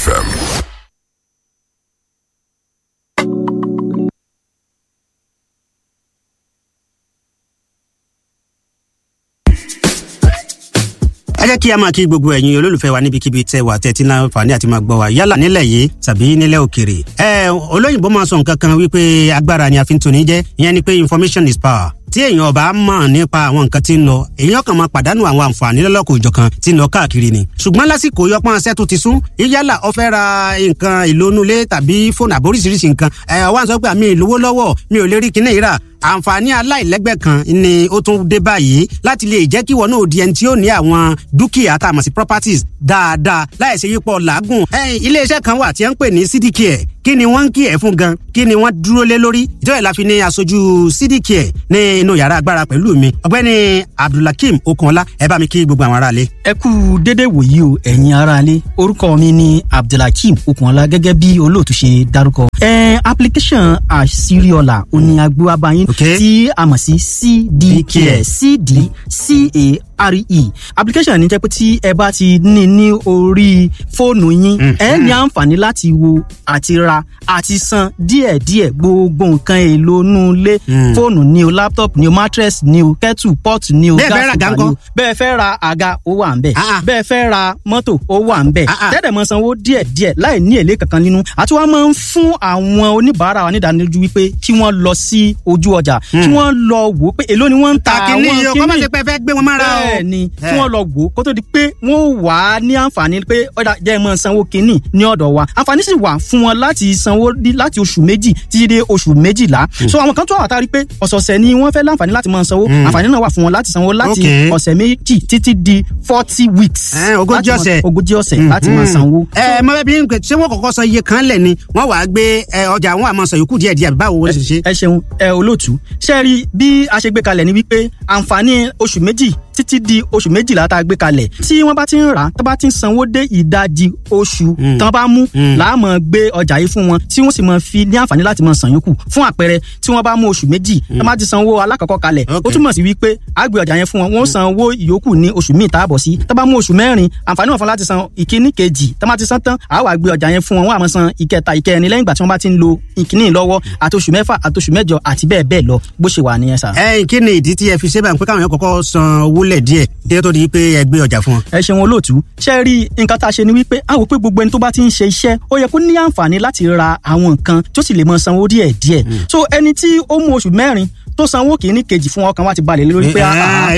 FM. Ẹ jẹ́ kí a máa kí gbogbo ẹ̀yin olólùfẹ́ wa níbikíbi tẹ́ wà, tẹ́tí náà fàní àti máa gbọ́ wa, yálà nílẹ̀ yìí tàbí nílẹ̀ òkèrè. Ẹ olóyìnbó máa sọ nǹkan kan wípé agbára ni a fi ń toni jẹ́, ìyẹn ni pé information is power. Tí èèyàn ọba mọ̀ nípa àwọn nǹkan tí ń lọ, èèyàn kan máa pàdánù àwọn àǹfààní lọ́lọ́kọ̀ òjọ̀kan tí ń lọ káàkiri ni. Ṣùgbọ́n lásìkò yọpọ́n ṣẹ́ tó ti sún, yálà ó fẹ́ ra nǹkan ìlónúlé tàbí fóònù àbóríṣiríṣi nǹkan, ẹ̀ wá ń sọ pé àmì ìlówó lọ́wọ́, mi ò lè rí kinní ìrà. Àǹfààní aláìlẹ́gbẹ́ kan ni ó tún dé báyìí láti lè jẹ́ kí wọn náà di ẹni tí ó ní àwọn dúkìá tá a mọ̀ sí properties dáadáa, láì ṣe yípo làágùn. Iléeṣẹ́ kan wà tí wọ́n ń pè ní CDCare. Kí ni wọ́n ń kí ẹ̀ fún gan? Kí ni wọ́n dúró lé lórí? Ìjọba ìlàfi ní aṣojú CDCare ní inú yàrá agbára pẹ̀lú mi, ọ̀gbẹ́ni Abdulhakeem Okunọlá. Ẹ bá mi kí gbogbo àwọn aráalé. Ẹ kú dédé wòyí o, ẹ̀yin aráalé. Orúkọ mi ni Abdulhakeem Okunọlá, gẹ́gẹ́ bí olóòtú ṣe dárúkọ. Application àṣírí-ọ̀la òní agbóhábáyín tí a mọ̀ sí CDCare, CDCARE application ní jẹ́ pé tí ẹ bá ti ní ní orí fóònù yín, ẹ ní àǹfààní láti wo àti ra àti san díẹ̀díẹ̀ gbogbo nǹkan èlò inú ilé: fóònù ni o, laptop ni o, mattress ni o, kettle pot ni o, gas cooker ni o. Bẹ́ẹ̀ fẹ́ ra àga, ó wà ń bẹ̀. Bẹ́ẹ̀ fẹ́ ra mọ́tò, ó wà ń bẹ̀. Tẹ́lẹ̀ mọ sanwó díẹ̀díẹ̀ láì ní èlé kankan nínú. Àti wọ́n máa ń fún àwọn oníbàárà wa nídánilójú wípé kí wọ́n lọ sí ojú ọjà, kí wọ́n lọ wò ó pé èló ni wọ́n ń ta àwọn kíní. Kọ́ má ṣe pé fẹ́ gbé wọn mára o. Bẹ́ẹ̀ ni, kí wọ́n lọ wò ó kó tó di pé wọ́n wà á ní àǹfààní pé ọ̀dà jẹ́ mọ́ sanwó kíní ní ọ̀dọ̀ wa. Àǹfààní sì wà fún wọn láti sanwó láti oṣù 2 títí dé oṣù 12. So àwọn kan tó wà tá a rí pé ọ̀sọ̀ọ̀sẹ̀ ni wọ́n fẹ́ láǹfààní láti máa sanwó, àǹfààní náà wà fún wọn láti sanwó láti ọ̀sẹ̀ 2 títí di 40 weeks. 40 ọ̀sẹ̀. 40 ọ̀sẹ̀ láti máa sanwó. Ẹ mọ bẹẹ bí n ṣé wọn kọ́kọ́ san iye kan lẹ ni, wọn wàá gbé ọjà wọn àmọ́ san yòókù díẹ̀ díẹ̀, báwo wọ́n ṣe ṣe? Ẹ ṣeun, ẹ olóòtú. Ṣe rí bí a ṣe gbé kalẹ̀ ni wípé àǹfààní oṣù 2 títí di oṣù 12 tá a gbé kalẹ̀, tí wọ́n bá ti ń rà á, tó bá ti ń sanwó dé ìdajì oṣù tán bá mú, láàmú gbé ọjà yìí fún wọn, tí wọ́n sì máa fi ní àǹfààní láti máa san yòókù. Fún àpẹẹrẹ, tí wọ́n bá mú oṣù 2, tó bá ti sanwó alákọ̀ọ́kọ́ kalẹ̀, ó túmọ̀ sí wípé a gbé ọjà yẹn fún wọn, wọ́n san owó ìyókù ní oṣù míì tá a bọ̀ sí. Tó bá mú oṣù 4, àǹfààní wọn fún láti san ìkíní kejì. Tó bá ti san tán, a wá gbé ọjà yẹn fún wọn, wọ́n á máa san ìkẹta, ìkẹrin lẹ́yìn ìgbà tí wọ́n bá ti ń lo ìkíní lọ́wọ́, àti oṣù 6, àti oṣù 8, àti bẹ́ẹ̀ bẹ́ẹ̀ lọ, bó ṣe wà nìyẹn sà. Ẹ kí ni ìdí tí ẹ fi ṣe báyìí pé káwọn yẹn kọ́kọ́ san owó lẹ̀ díẹ̀ kí ó tó di pé ẹ gbé ọjà fún wọn? Ẹ ṣeun, olóòtú. Ṣe rí nǹkan tá a ṣe ni wípé a wò pé gbogbo ẹni tó bá ti ń ṣe iṣẹ́, ó yẹ kó ní àǹfààní láti ra àwọn nǹkan tó sì lè mọ sanwó díẹ̀ díẹ̀. So ẹni tí ó mú oṣù 4 tó sanwó kìíní, kejì fún, ọkàn wa ti balẹ̀ lórí pé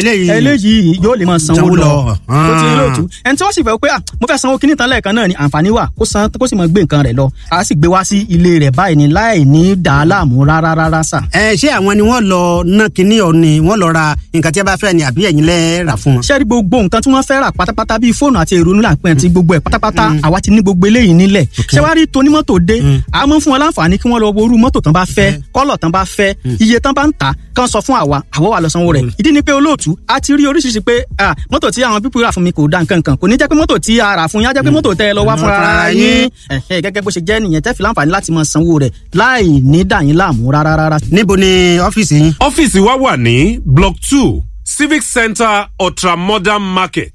eléyìí yóò lè máa sanwó lọ. Tó ti lóòtú, ẹni tí wọ́n sì fẹ́ pé mo fẹ́ sanwó kìíní tán lẹ́ẹ̀kan náà ni, àǹfààní wà kó san, kó sì máa gbé nǹkan rẹ̀ lọ. A sì gbé wá sí ilé rẹ̀ báyìí ni, láì ní dà á láàmú rárá rárá sà. Ẹ ṣé àwọn ni wọ́n lọ ná kinní ọ ni wọ́n lọ ra nǹkan tí a bá fẹ́ ni, àbí ẹ̀yin lẹ́ rà fún wọn? Ṣé rí gbogbo nǹkan tí wọ́n fẹ́ rà pátápátá, bíi fóònù àti èrò nílà pẹ́ àti gbogbo ẹ̀ pátápátá, àwa ti ní gbogbo eléyìí nílẹ̀. Ṣé wàá rí tonímọ́tò dé, a máa ń fún wọn láǹfààní kí wọ́n lọ wo irú mọ́tò tán bá fẹ́, kọ́lọ̀ tán bá fẹ́, iye tán bá ń tà, kán sọ fún àwa, àwọ̀ wà lọ sanwó rẹ̀. Ìdí ni pé, olóòtú, a ti rí oríṣiríṣi pé mọ́tò tí àwọn pípọ̀ rà fún mi kò da nǹkan kan. Kò ní jẹ́ pé mọ́tò tí a rà fún yín á jẹ́ pé mọ́tò tẹ́ ẹ lọ wá fúnra ara yín. Gẹ́gẹ́ bó ṣe jẹ́ nìyẹn, tẹ́ fi láǹfààní láti máa sanwó rẹ̀ láì ní dà yín láàmú rárá rárá. Níbo ni ọ́fíìsì yín? Ọ́fíìsì wa wà ní Block 2, Civic Center, Ultramodern Market,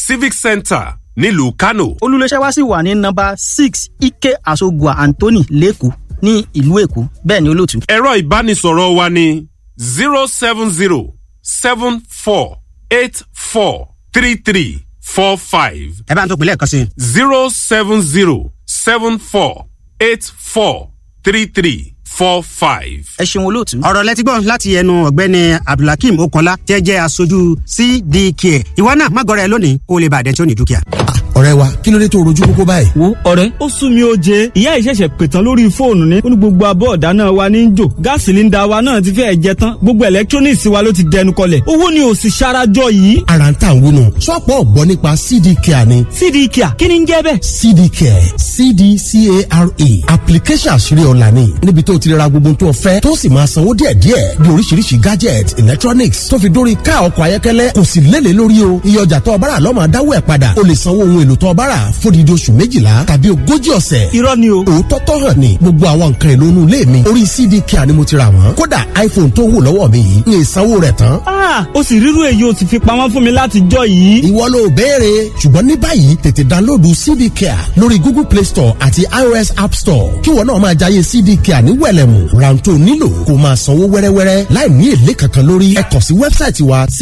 Civic Center, nílùú Kano. Olùléṣẹ́ wa sì wà ní nọ́mbà 6, Ike Asogua Anthony, lẹ́kọ̀ọ́, ní ìlú Èkó. Bẹ́ẹ̀ ni, olóòtú. Ẹ̀rọ ìbánisọ̀rọ̀ wa ní 07074843345. Ẹ bá ń tó pinlẹ̀ kan sí. 07074843345. Ẹ ṣeun, olóòtú. Ọ̀rọ̀ lẹ́tí gbọ́ láti ẹnu ọ̀gbẹ́ni Abdulhakeem Okanla, tẹ́ jẹ́ aṣojú CDK. Ìwọ náà má gọrẹ lónìí, kó o lè bàdẹ́ tí ó ní dúkìá. Ọ̀rẹ́ wa, kí ló dé tó rojú kókó báyìí? Wo ọ̀rẹ́, ó sún mi ó jẹ. Ìyá ìṣẹ̀ṣẹ̀ pètàn lórí fóònù ni ó ní gbogbo abọ́ ọ̀dá náà wa ní jò, gas cylinder wa náà ti fẹ́ẹ̀ jẹ tán, gbogbo electronics wa ló ti dẹnu kọlẹ̀, owó ni ò sì ṣarajọ yìí. Ara ń tà ń wúnu, sọ́pọ̀ ọ̀gbọ́n nípa CD Care ni. CD Care, kí ni ń jẹ́ bẹ́ẹ̀? CD Care, CDCARE, application àṣírí ọ̀la ni, níbi tó ti ra gbogbo tó fẹ́, tó sì máa sanwó díẹ̀díẹ̀, bí oríṣiríṣi gadget, electronics, tó fi dórí ká ọkọ̀ ayọ́kẹ́lẹ́. Kò sì lélẹ̀ lórí o. Iye ọjà tó ọbára lọ́mọ dáwọ́ ẹ̀ padà. O lè sanwó ohun èlò. èlò tó o bá rà fódìdí oṣù 12 tàbí 40 ọ̀sẹ̀. Irọ́ ni o. Òótọ́ tó hàn ní gbogbo àwọn nǹkan èlò inú ilé mi orí CDK ni mo ti rà wọ́n. Kódà iPhone tó wù lọ́wọ́ mi yìí ní ìsanwó rẹ̀ tán. Ó sì rírú èyí o sì fi pamọ́ fún mi láti jọ yìí. Ìwọ ló béèrè, ṣùgbọ́n ní báyìí tètè dánlóòdù CDK lórí Google Play Store àti iOS App Store kí wọn náà máa jayé CDK ní wẹ̀lẹ̀mù. Rántó nílò kó máa sanwó wẹ́rẹ́wẹ́rẹ́ láì ní èlé kankan lórí. Ẹ kàn sí wẹ́bsáìtì wa.